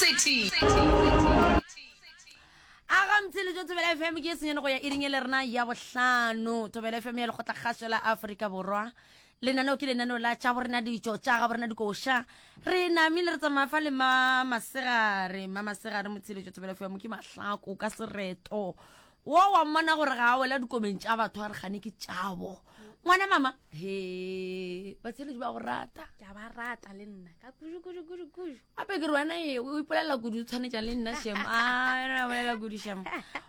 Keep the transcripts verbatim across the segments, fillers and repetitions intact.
City. A ga mtsheletšo Thobela F M ke senyane go ya iring e le rena ya bohlano. Thobela F M ya Lekgotlakgašo la Afrika Borwa. Lenaneo ke lenaneo la tša borena ditšo tša ga borena dikoša. Re namile re tsamaya fa le ma masegare, ma masegare motsheletšo Thobela F M ke mahlako ka sereto. Wo wa mmona gore ga a wela dikomeng tša batho a re gane ke tšabo. Ngwana mama, he, batsheletši ba go rata. Ke a ba rata le nna, ka kudu, kudu, kudu, kudu. Gape ke re wena e, o ipolelela kudu, o tshwanetša le nna, shem. A, wena o bolela kudu, shem.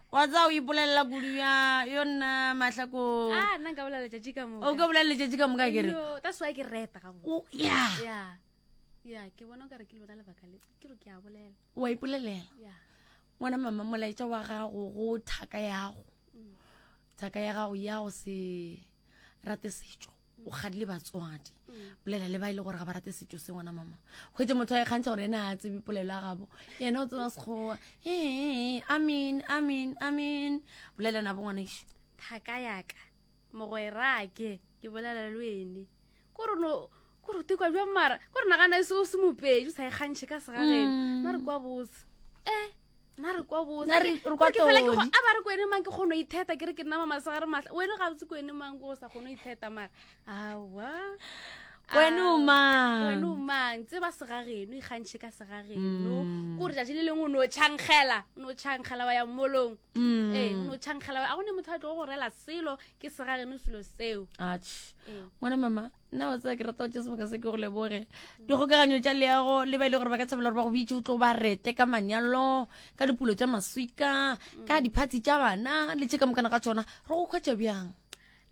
Wa tseba o ipolelela kudu ya, yo nna mahlako. Ah, nna nka bolela letšatši ka moka. O ka bolela letšatši ka moka, ke re. Yo, that's why ke reta gabotse. O, ya. Ya. Ya, ke bona o ka re ke lona lebaka le, ke re ke a bolela. Wa ipolelela? Ya. Ngwana mama, molaetša wa gago go thaka yago. Mm. Thaka ya gago ya go se rate setšo, o kgadile batswadi. Mm. Bolela le ba e le gore ga ba rate setšo se, ngwana mama. Hwetše motho a ikgantšha gore yena a tsebe polelo ya gabo, yena o tseba Sekgowa. Ee, amen, amen, amen. Bolela nabo ngwanešu. Thaka yaka, mogwerake, ke bolela le wene. Kore no, kore o tekwa bjang mara, kore nagana e se o se mopedi, o sa ikgantšhe ka segageno. Mm. Nna re kwa botse. Eh, nna re kwa botse. Nna re, re kwa Ke fela ke go, todi. a ba re kwene mang ke kgone ho itheta, ke re ke nna Mamasegare Mahla. Wena ga botse kwene mang ko o sa kgone ho itheta mara. Aowa. Wena o Ah, mang? Wena o mang? Tseba segageno, ikgantšhe ka segageno. Mm. Kore tšatši le lengwe o no tšhankgela, o no tšhankgela wa ya molong. Mm. Ee, o no tšhankgela wa, a gone motho a tlo go rela selo, ke segageno selo seo. Atjhe. Ee. Ngwana mama, nna wa tseba ke rata go tšea sebaka se ke go leboge. Dikgokaganyo tša leago le ba e le gore ba ka thabela gore ba go bitše o tlo ba rete ka manyalo, ka dipulo tša maswika, ka diphathi tša bana le tše ka mokana ga tšona. Re go hwetša bjang?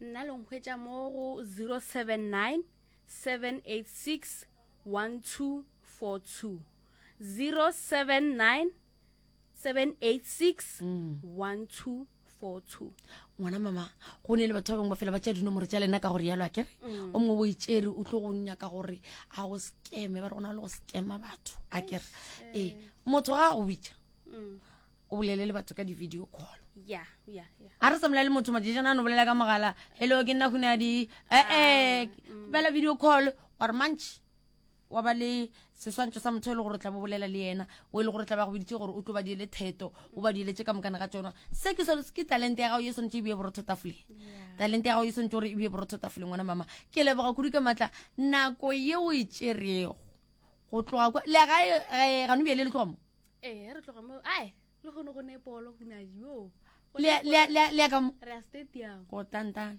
Nna le nkhwetša mo go zero seven nine seven eight six one two four two. zero seven nine seven eight six Mm. one two four two. Ngwana mama, go ne le batho ba bangwe ba fela ba tšea dinomoro tša lena ka gore yalo a kere? Mm. O mongwe o itšere o tlo go nyaka gore a go scam-e, ba re go na le go scam-a batho a kere. Ee, motho ga a go bitša, Mm. o bolele le batho ka di-video call. Ya, ya, ya. A re sa bolele le motho matšatšana a no bolela ka mogala, hello ke nna Hunadi, eh, eh, Mm. bela video call, wa re mantši wa ba le seswantšho sa motho e le gore o tla bo bolela le yena, o e le gore o tla ba go biditše gore o tlo ba diele theto, o ba dieletse ka mokana ga tšona. Se ke sone, ke talente ya gago ye swanetše e bee borotho tafoleng. Yeah. Talente ya gago e swanetše gore e bee borotho tafoleng, ngwana mama. Ke leboga kudu ka matla nako ye o e tšerego go tloga kwa le gae, eh, gano bjale le tloga mo? Ee, re tloga mo. Ai, le kgone go ne polo, Hunadi, yo. Go Le ne ya, le ya, le ya, le ya ka mo? Re ya stadium. Go tantana.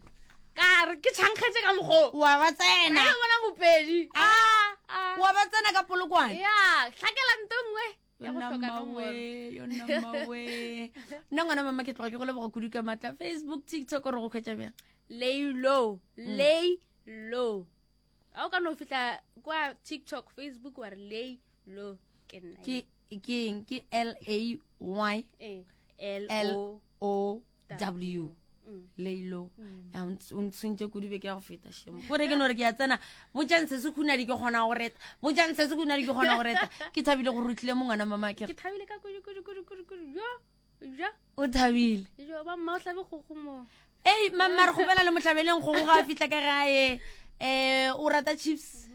Ka re ke tšhankgetse ka mokgo. Wa ba tsena. Re bona mopedi. Ah, Ah. wa ba tsena ka Polokwane. Ya, hlakela nto nngwe. Ya go Yona hloka mmawe, nomoro. yona mmawe. Nna ngwana mama ke tloga ke go leboga kudu ka matla. Facebook, TikTok re go hwetša bjang? Lay low, Mm. lay low. Ha o ka no fihla kwa TikTok, Facebook wa re lay low ke nna. Ke ke eng? Ke L A Y Eh, L L O O W. Mm. Lay low. Mm. Ya, o ntsh-, o ntshwentše kudu beke ya go feta, shemo. Kore ke no re ke ya tsena, botšang se se Hunadi ke kgona go reta. Botšang se se Hunadi ke kgona go reta. Ke thabile gore o tlile mo ngwana mama ke re. Ke thabile ka kudu, kudu, kudu, kudu, kudu. Jo, jo. O thabile. Jo, ba mma o hlabe kgogo mo. Ei, mamma re kgopela le mohlabeleng kgogo ga a fihla ka gae. Eh, o rata chips?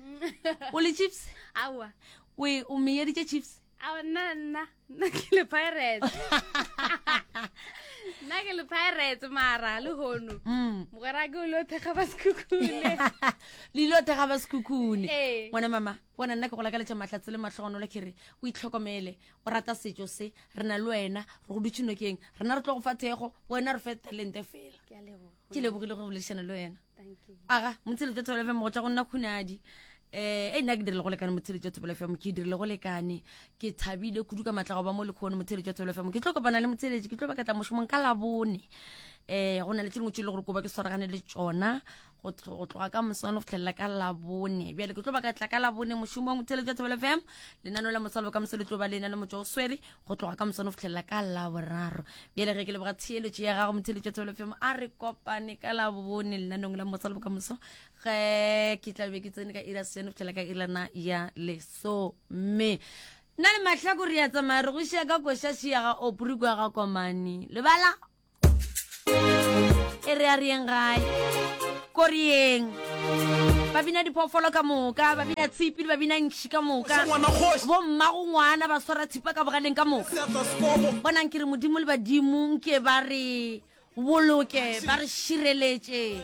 O le chips? Aowa. O e, o meyeditše chips? Aowa, nna, nna, nna ke le Pirates. Nna ke le Pirates mara le hono. Mm. Mogwera ke o lo thekga ba Sekhukhune. Le ile thekga ba Sekhukhune. Ee. Ngwana mama, bona nna ke go lakaletša mahlatse le mahlogonolo ke re o itlhokomele, o rata setšo se, re na le wena, re go dutše nokeng, rena re tlo go fa thekgo, wena re fe talente fela. Ke a leboga. Ke lebogile go boledišana le wena. Thank you. Aga, motsheletšo Thobela F M go tšwa go nna Khunadi. Eh, e nna ke dirile go lekane motsheletšo Thobela F M, ke dirile go lekane. Ke thabile kudu ka matla go ba mo lekgono motsheletšo Thobela F M. Ke tlo kopana le motsheletši, ke tlo ba ka tla mošomong ka Labone. Eh, go na le tše dingwe tše e le gore ko ba ke swaragane le tšona go tlo-, go tloga ka moswane go fihlelela ka Labone. Bjale ke tlo ba ka tla ka Labone mošomong motsheletšo Thobela F M. Lenaneo la Mosadi Bokamoso le tlo ba le ena le motšwa o swere go tloga ka moswane go fihlelela ka Laboraro. Bjale ge ke leboga theeletšo ya gago motsheletšo Thobela F M, a re kopane ka Labone lenaneong la Mosadi Bokamoso. Ge ke tla be ke tsene ka iri ya senyane go fihlela ka irana ya lesome. Nna le Mahlako re ya tsamaya re go šia ka koša šia ga Opri kwa ga Komane. Lebala e re a re yeng gae, ko re yeng. Ba bina diphoofolo ka moka, ba bina tshipi le ba bina ntšhi ka moka. Ngwana kgoši. Bommago ngwana ba swara thipa ka bogaleng ka moka. Seatla sekobo. Bonang ke re Modimo le badimo nke ba re boloke, ba re šireletše.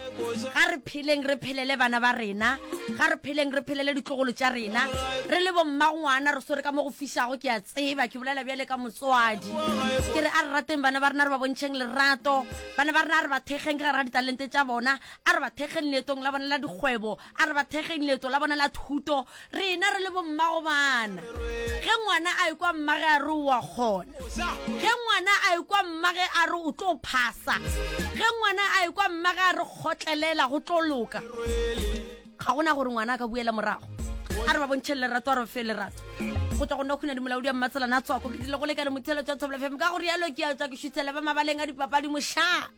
Ga re pheleng re phelele bana ba rena, ga re pheleng re phelele ditlogolo tša rena. Re le bommagongwana re swere ka mo go fišago, ke a tseba, ke bolela bjale ka motswadi. Ke re a re rateng bana ba rena, re ba bontšheng lerato. Bana ba rena a re ba thekgeng ka gare ga ditalente tša bona, a re ba thekgeng leetong la bona la dikgwebo, a re ba thekgeng leeto la bona la thuto. Rena re le bommago bana, ge ngwana a ekwa mmage a re o a kgona, ge ngwana a ekwa mmage a re o tlo phasa, ge ngwana a ekwa mmage a re kgotlelela go tlo loka, ga gona gore ngwana a ka buela morago. A re ba bontšheng lerato, a re ba fe lerato. Go tšwa go nna Khunadi Molaodi wa Mmatselana a Tswako, ke tlile go lekane motheeletši wa Thobela F M. Ka go rialo ke a tšwa ke šuthela ba mabaleng a dipapadi mošaa.